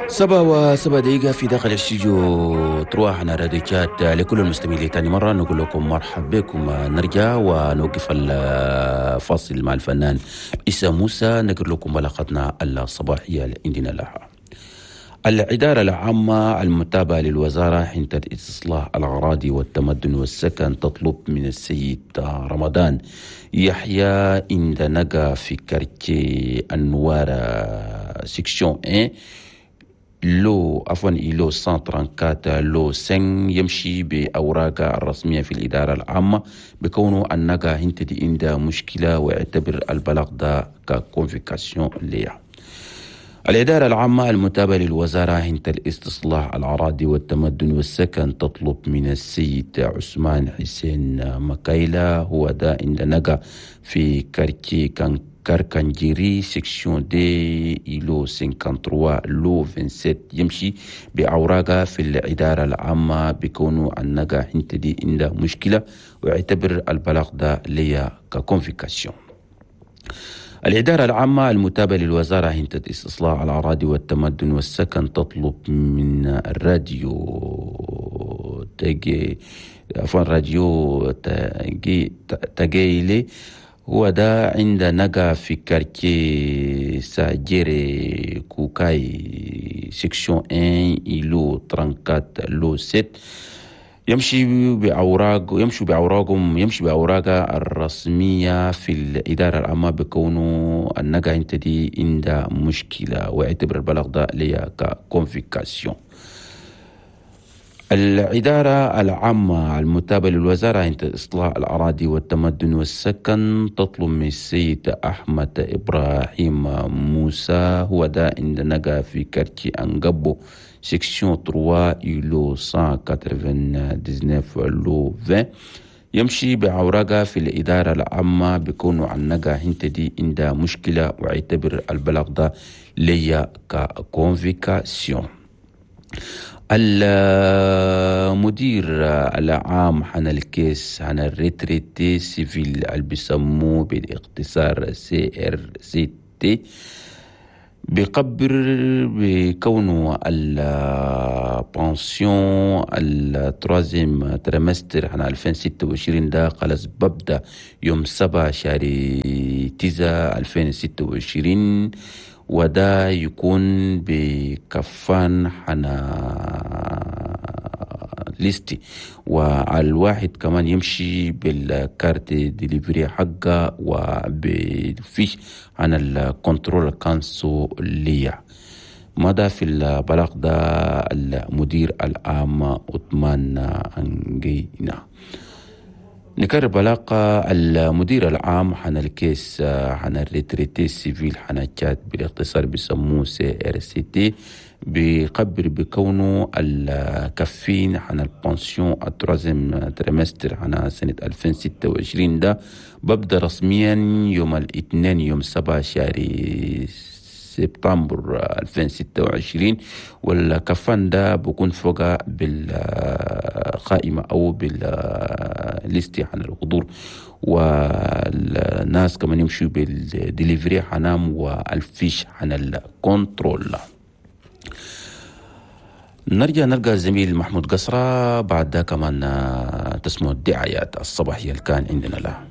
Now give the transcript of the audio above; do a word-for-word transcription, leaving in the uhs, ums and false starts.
سبعة وسبع دقيقة في داخل الاستوديو تروح على راديو تشاد. لكل المستمعين لثاني مرة نقول لكم مرحبا بكم. نرجع ونوقف الفاصل مع الفنان عيسى موسى، نقرأ لكم بلاغتنا الصباحية اللي عندنا لها. الإدارة العامة المتابعة للوزارة حنتة استصلاح الأراضي والتمدن والسكن تطلب من السيد رمضان يحيى عند نقا في quartier النوارة section واحد lot عفوا îlot مية وأربعة وثلاثين lot خمسة، يمشي بأوراق الرسمية في الإدارة العامة بكونه النقا هنتدي عندها مشكلة، ويعتبر البلاغ ده ك convocation ليها. الإدارة العامة المتابعة للوزارة هنت الاستصلاح الأراضي والتمدن والسكن تطلب من السيد عثمان حسين مكايلا، هو ده عند نقا في quartier كان كاركانجيري section deux îlot ثلاثة وخمسين lot سبعة وعشرين، يمشي بأوراقه في الإدارة العامة بكونه النقا هنتدي عنده مشكلة، ويعتبر البلاغ ده ليا ك convocation. الإدارة العامة المتابعة للوزارة هنتة استصلاح الأراضي والتمدن والسكن تطلب من الراديو تجي عفوا راديو تجي تجيلي، هو ده عند نقا في quartier ساجيري كوكاي section واحد îlot أربعة وثلاثين lot سبعة، يمشي بأوراق يمشي بأوراقهم يمشي بأوراقه الرسمية في الإدارة العامة بكونه النقا انت دي عندها مشكلة، ويعتبر البلاغ ده ليا ك convocation. الإدارة العامة المتابعة للوزارة عند إصلاح الأراضي والتمدن والسكن تطلب من السيد أحمد إبراهيم موسى، هو ده عند نقا في quartier أنقبو section ثلاثة îlot مية وتسعة وثمانين lot عشرين، يمشي بأوراقه في الإدارة العامة بكونه عن نقا هنت دي عندها مشكلة، ويعتبر البلاغ ده ليا ك convocation. المدير العام حنا ال caisse حنا ال retraite civile اللي بيسموه بالاختصار CRCT بيخبر بكونه ال pension ال troisième trimestre حنا ألفين وستة وعشرين ده خلاص ببدأ يوم سبعة شهر تسعة ألفين وستة وعشرين، وده يكون بكفان حنا liste، والواحد كمان يمشي بال carte de livret حقه وبال fiche عن ال contrôle consulaire. مضى في البلاغ ده المدير العام عثمان أنجينا. نكرر بلاغ المدير العام حنا ال caisse حنا ال retraite civile حنا تشاد، بالاختصار بيسموه CRCT، بيخبر بكونه الكفين حنا ال pension ال troisième trimestre حنا سنة ألفين وستة وعشرين ده ببدأ رسميا يوم الاثنين يوم سبعة شهر سبتمبر ألفين وستة وعشرين، والكفان ده بكون فوق بالقائمة أو بال liste عن الحضور، والناس كمان يمشوا بال livret حنام وال fiche عن ال contrôle. نرجع نلقى الزميل محمود قصرة، بعد ده كمان تسمعوا الدعايات الصباحية اللي كان عندنا لها.